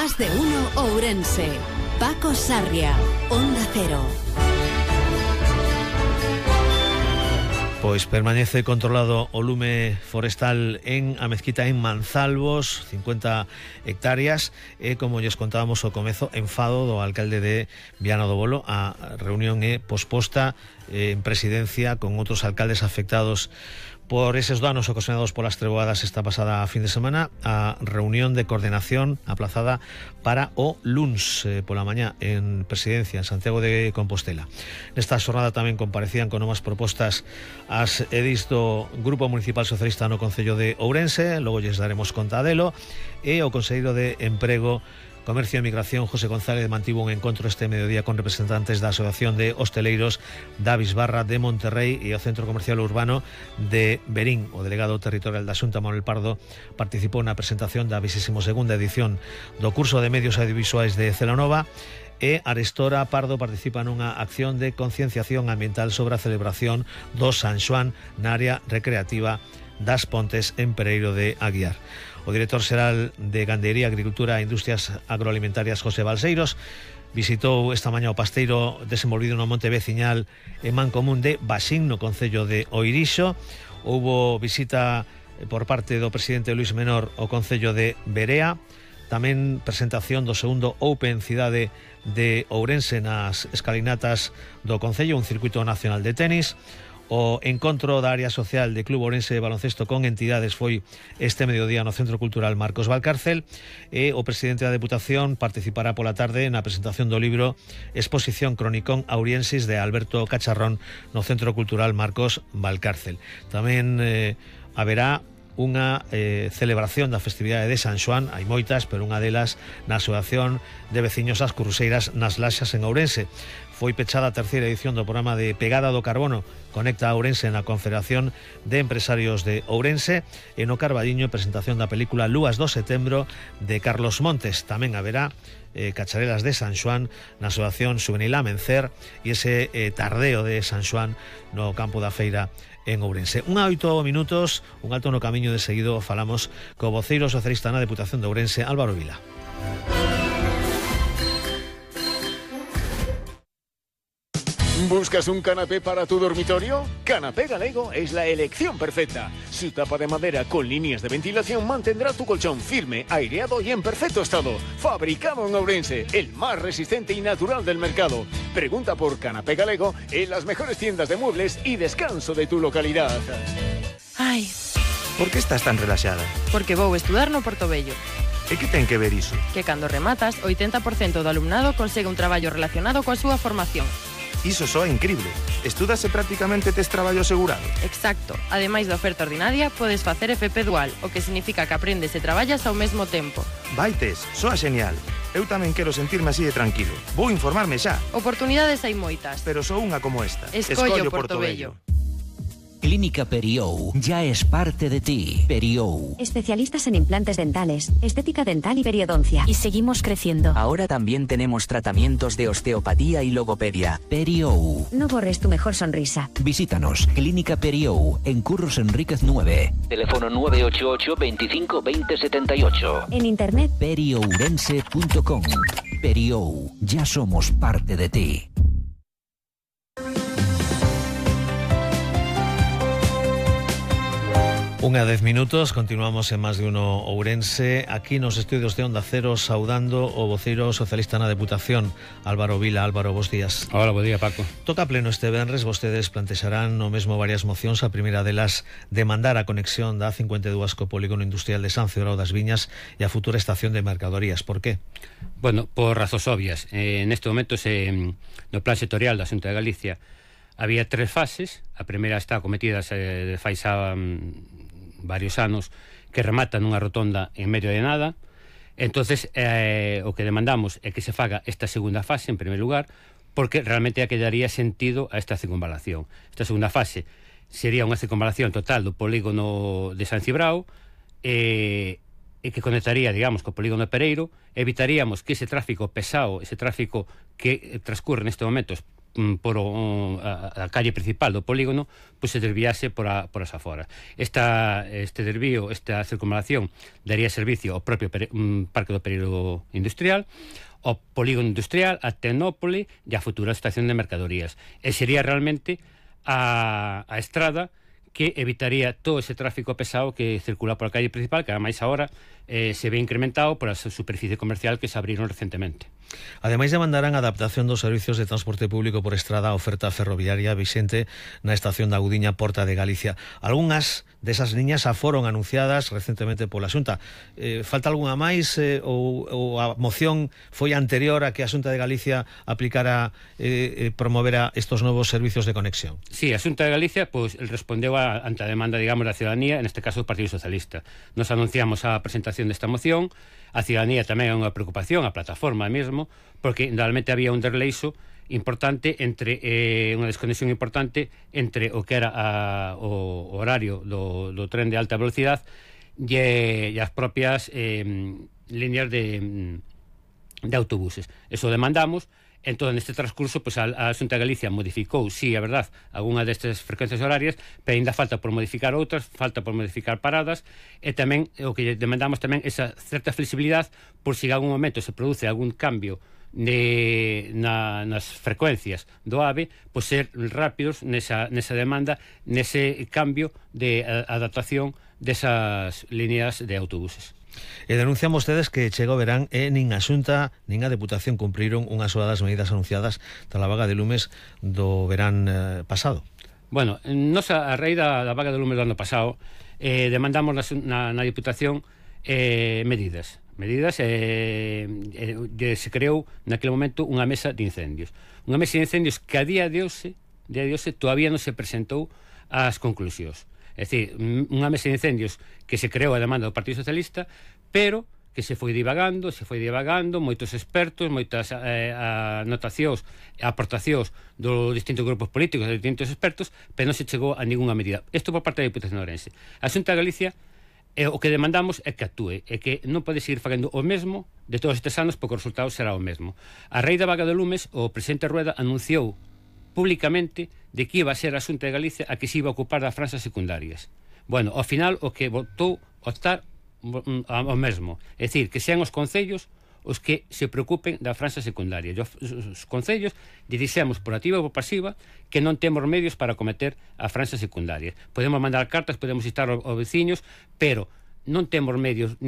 Más de uno Ourense. Paco Sarria, Onda Cero. Pois permanece controlado o lume forestal en a mezquita en Manzalvos, 50 hectáreas, e como lles contábamos ao comezo, enfado do alcalde de Viana do Bolo. A reunión é posposta en presidencia con outros alcaldes afectados por eses danos ocasionados polas treboadas esta pasada fin de semana. A reunión de coordinación aplazada para o luns pola mañá en presidencia en Santiago de Compostela. Nesta xornada tamén comparecían con novas propostas as edis do Grupo Municipal Socialista no Concello de Ourense, logo lles daremos conta delo, e o Conselleiro de Emprego, Comercio e Migración, José González, mantivo un encontro este mediodía con representantes da Asociación de Hosteleiros da Bisbarra de Monterrey e o Centro Comercial Urbano de Berín. O delegado territorial da Xunta, Manuel Pardo, participou na presentación da 22ª edición do curso de Medios Audiovisuais de Celanova, e Arestora Pardo participa nunha acción de concienciación ambiental sobre a celebración do San Xoán na área recreativa das Pontes en Pereiro de Aguiar. O director xeral de Gandería, Agricultura e Industrias Agroalimentarias, José Balseiros, visitou esta mañá o pasteiro desenvolvido no monte veciñal en Mancomún de Baxín, no concello de Oirixo. Houbo visita por parte do presidente Luís Menor ao concello de Berea. Tamén presentación do segundo Open Cidade de Ourense nas escalinatas do concello, un circuito nacional de tenis. O encontro da área social de Club Ourense de Baloncesto con entidades foi este mediodía no Centro Cultural Marcos Valcárcel, e o presidente da Deputación participará pola tarde na presentación do libro Exposición Cronicón Auriensis de Alberto Cacharrón no Centro Cultural Marcos Valcárcel. Tamén haberá unha celebración da festividade de San Xoán. Hai moitas, pero unha delas na Asociación de Veciños As Cruceiras nas Laxas en Ourense. Foi pechada a terceira edición do programa de Pegada do Carbono Conecta a Ourense na Confederación de Empresarios de Ourense, e no Carballiño presentación da película Lúas do Setembro de Carlos Montes. Tamén haberá cacharelas de San Xoán na Asociación Juvenil Amencer e ese tardeo de San Xoán no campo da feira en Ourense. 8 minutos, un alto no camiño. De seguido falamos co voceiro socialista na Deputación de Ourense, Álvaro Vila. ¿Buscas un canapé para tu dormitorio? Canapé Galego es la elección perfecta. Su tapa de madera con líneas de ventilación mantendrá tu colchón firme, aireado y en perfecto estado. Fabricado en Ourense, el más resistente y natural del mercado. Pregunta por Canapé Galego en las mejores tiendas de muebles y descanso de tu localidad. Ai, Por que estás tan relaxada? porque vou estudar no Portobello. E que ten que ver iso? Que cando rematas, 80% do alumnado consegue un traballo relacionado coa súa formación. Iso soa increíble. Estudas e prácticamente tes traballo asegurado. Exacto. Ademais da oferta ordinaria, podes facer FP dual, o que significa que aprendes e traballas ao mesmo tempo. Vaites, soa genial. Eu tamén quero sentirme así de tranquilo. Vou informarme xa. Oportunidades hai moitas. Pero só unha como esta. Escollo Portobello. Clínica Periou ya es parte de ti. Periou. Especialistas en implantes dentales, estética dental y periodoncia. Y seguimos creciendo. Ahora también tenemos tratamientos de osteopatía y logopedia. Periou. No borres tu mejor sonrisa. Visítanos. Clínica Periou en Curros Enríquez 9. Teléfono 988 25 20 78. En internet periourense.com. Periou. Ya somos parte de ti. Unha 10 minutos, continuamos en Más de uno Ourense, aquí nos estudios de Onda Cero, saudando o voceiro socialista na Deputación, Álvaro Vila. Álvaro, bos días. Hola, bo día, Paco. Toca pleno este venres, vostedes plantexarán no mesmo varias mocións. A primeira delas, demandar a conexión da A52 co polígono industrial de San Cibrao das Viñas e a futura estación de mercadorías. Por qué? Bueno, por razóns obvias. Neste momento, no plan sectorial da Xunta de Galicia, había 3 fases. A primeira está acometida de fai xa varios anos, que remata nunha rotonda en medio de nada. Entonces o que demandamos é que se faga esta segunda fase en primer lugar, porque realmente é que daría sentido a esta circunvalación. Esta segunda fase sería unha circunvalación total do polígono de San Cibrao, e que conectaría, digamos, co polígono de Pereiro. Evitaríamos que ese tráfico pesado, ese tráfico que transcurre neste momento por a calle principal do polígono, pois se desviase por as aforas. Este desvío, esta circunvalación daría servicio ao propio parque do período industrial, ao polígono industrial, a Tecnópole e a futura estación de mercadorías. E sería realmente a estrada que evitaría todo ese tráfico pesado que circula por a calle principal, que ademais agora se ve incrementado por a superficie comercial que se abriron recentemente. Ademais demandarán a adaptación dos servicios de transporte público por estrada a oferta ferroviaria vixente na estación da Gudiña Porta de Galicia. Algunhas desas liñas foron anunciadas recentemente pola Xunta. Falta algunha máis ou a moción foi anterior a que a Xunta de Galicia aplicara promovera estos novos servicios de conexión? Sí, a Xunta de Galicia pois respondeu ante a demanda, digamos, da ciudadanía, neste caso do Partido Socialista. Nos anunciamos a presentación desta moción. A ciudadanía tamén é unha preocupación, a plataforma mesmo, porque realmente había un desleixo importante entre unha desconexión importante entre o que era o horario do tren de alta velocidade e as propias líneas de autobuses. Eso demandamos. Entón, neste transcurso, pues, a Xunta de Galicia modificou, sí, é verdade, algunha destas frecuencias horarias, pero ainda falta por modificar outras, falta por modificar paradas, e tamén, o que demandamos tamén, esa certa flexibilidade, por se en algún momento se produce algún cambio nas frecuencias do AVE, pois ser rápidos nesa demanda, nese cambio de adaptación desas líneas de autobuses. E denuncian vostedes que chega o verán e nin a Xunta nin a Deputación cumpriron unha soa das medidas anunciadas da vaga de lumes do verán pasado. Bueno, nos a raíz da vaga de lumes do ano pasado demandamos na Deputación medidas se creou naquele momento unha mesa de incendios que a día de hoxe todavía non se presentou as conclusións. É dicir, unha mesa de incendios que se creou a demanda do Partido Socialista, pero que se foi divagando, moitos expertos, moitas anotacións e aportacións dos distintos grupos políticos, dos distintos expertos, pero non se chegou a ninguna medida. Isto por parte da Diputación de Ourense. A Xunta de Galicia, o que demandamos é que actúe, e que non pode seguir facendo o mesmo de todos estes anos, porque o resultado será o mesmo. A raíz da vaga de lumes, o presidente Rueda anunciou públicamente de que iba a ser a Xunta de Galicia a que se iba a ocupar das franxas secundarias. Bueno, ao final o que votou optar ao mesmo, é dicir, que sean os concellos os que se preocupen da franxa secundaria. Os concellos dixemos por activa ou por pasiva que non temos medios para acometer a franxa secundaria. Podemos mandar cartas, podemos instar aos veciños, pero non temos medios ni